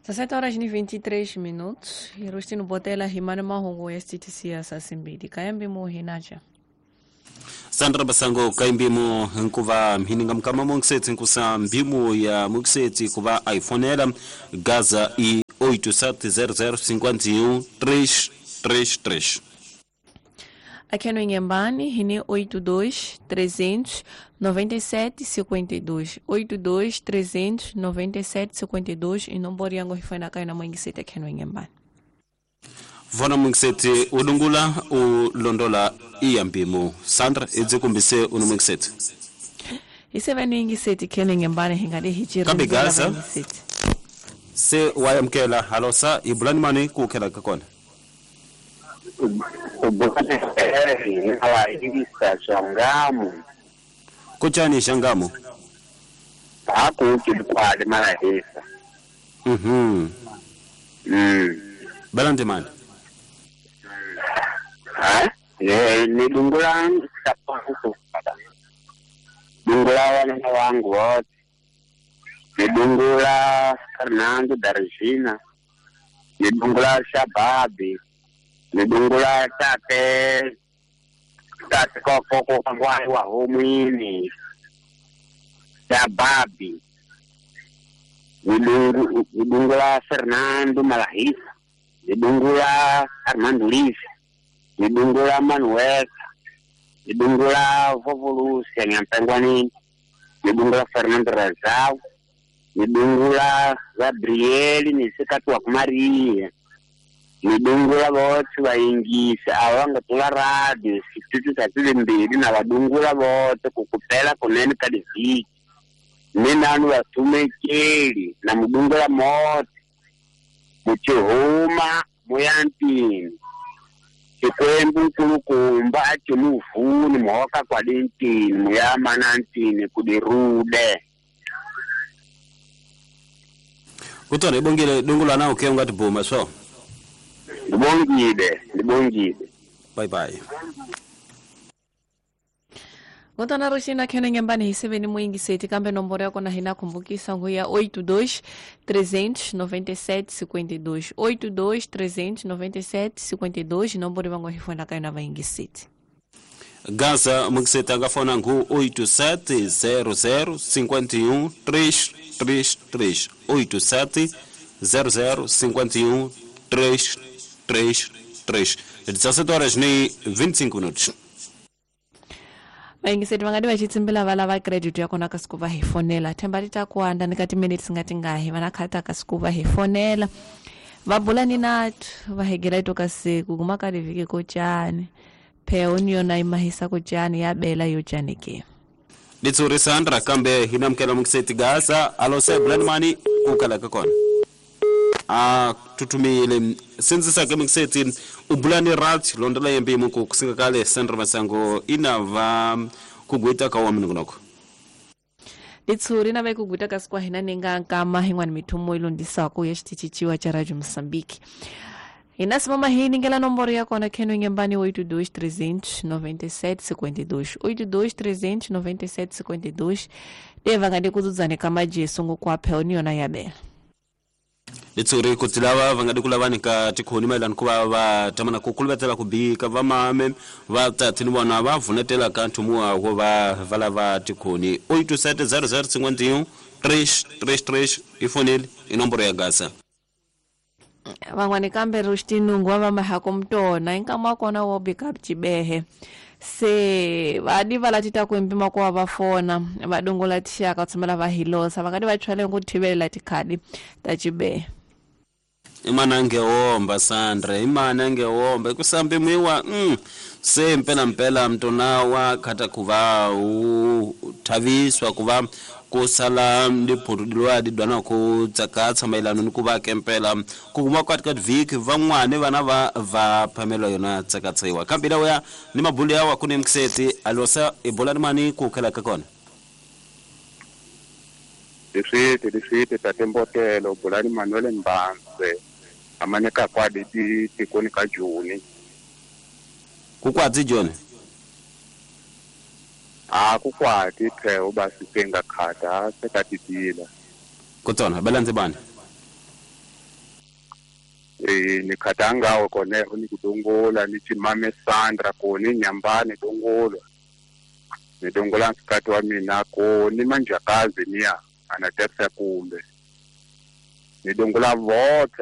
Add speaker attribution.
Speaker 1: 17 horas e 23 minutos. Irustino Botela himane mahungu ya STTC ya sasimbili. Kayambi muhinacha.
Speaker 2: Sandra Basango kaimbimo nkuva mhininga mkama mongisetsi nkusa mbimo ya mongisetsi kuva iPhone Gaza i 8700 51 333.
Speaker 1: Aqui no Inhambane, Rine 82 397 52. 82 397 52 e não boriango rifana kai na mangisete aqui no Inhambane.
Speaker 2: Vona mungisete ulungula ulondola iyambimo. Sandra edzikumbise unomungisete.
Speaker 1: Iseveni ingisete kene Inhambane hingade hijira.
Speaker 2: Kambe Gaza. Se wayamkela halosa ibulani mani kukhela kakona. Kuchani shangamu
Speaker 3: hakuchilikwali malahisa.
Speaker 2: Balante mani
Speaker 3: ni dungula dungula wana wangu wote ni dungula Fernando Darjina ni dungula Shababi ni dungula tate tate koko kangwai wa homini Shababi ni dungula Fernando Malahisa ni dungula Armando Lisa ni dungula Manuel ni dungula Vovolucia Nyampengwani ni dungula Fernando Razao ni dungula Gabriel ni sikatu wa Maria ni dungula vote vaingisa avanga tula radio situtu tatile mbili na vadungula vote kukupela kunene kadiviki ni nanu vatumekeli na mudungula mote muchihuma muyantini xikwembu nkulukumba a cimuvuni muhoka kwalintini muyamanantini kudirude
Speaker 2: kutona ibongile dungula nawo ke ungati bhuma so
Speaker 3: ndibongile ndibongile.
Speaker 2: Bye bye.
Speaker 1: Ngotona roxina khene ngembani hiseveni muingiseti kambe nomboro yakona hina kumbukisa nguya 82 397 52 82 397 52 nomboro vango hifona kaina vaingiseti.
Speaker 2: Gaza mungiseti angafona ngu 8700 51 333 87 00 51 333. 17 horas nem 25 minutos.
Speaker 1: Vaingiseti vangadi vachitsimbila valava credit yakona kasikuva hifonela themba litakuanda nikati minutes ngati ngahi vanakhata kasikuva hifonela vabulani nathu vahegela itoka siku kumakalivike kochani pheoni yona imahisa kochani yabela yochani ke
Speaker 2: litsuri Sandra kambe hinamkela mungiseti Gaza alose bulani mani kukalaka kona a tutumile sinzisa ke mungiseti ubulani rat londola yembi muku kusinga kale Sandra Masango inava kugwita ka waminungunoko
Speaker 1: litsuri na ve kugwita ka sikwa hina ninga nkama hingwani mithumo ilondisako ya xitichichiwa cha Radio Mozambique hina simama hi ningela nomboro ya kona kheno ngembani 82 397 52 82 397 52 deva ngade kudzudzane kamajesu ngokwaphe yona yabela
Speaker 2: litsuri kutilava vangadi kulavani ka tikhoni maelana kuva va tamana kukuluvetela kubika vamame va tathini vona va vunetela ka nthumu wawo va valava tikhoni 8700 51 333 ifoneli inomboro ya Gaza
Speaker 1: van'wani kambe ruxtinungu wa vamahako mtona inkama wa kona wo bika cibehe se vadi va latita kuimpima kuva va fona va dungula tixaka tshamela va hilosa vangadi va chwale ku thivelela tikhadi ta cibehe
Speaker 2: imana ngewomba Sandra imana ngewomba kusambe mwiwa se mpela mpela mtona wa khata kuva uthaviswa kuva kusala ndiphurudilwa didwana ku tsakatsa maelano ni kuva kempela ku kuma kwati vhiki van'wani vana va va phamela yona tsakatsiwa kambe lawa ya ni mabulu yawa kune mkiseti alosa ebola ni mani ku khela ka kona
Speaker 3: leswi tate Mbotelo bulani Manuel Mbanze amaneka kwadi tikoni ka Juni
Speaker 2: kukwatsi Joni
Speaker 3: a kukwati pheo basi tenga khata sekatitila
Speaker 2: kutona balanze bani
Speaker 3: Ni khatangawe koneho ni kudongola ni chimame Sandra ko ni nyambani dongolo. Ni dongola nsikati wa mina ko ni manjakazi niya anatesa kumbe. Ni dongola vote.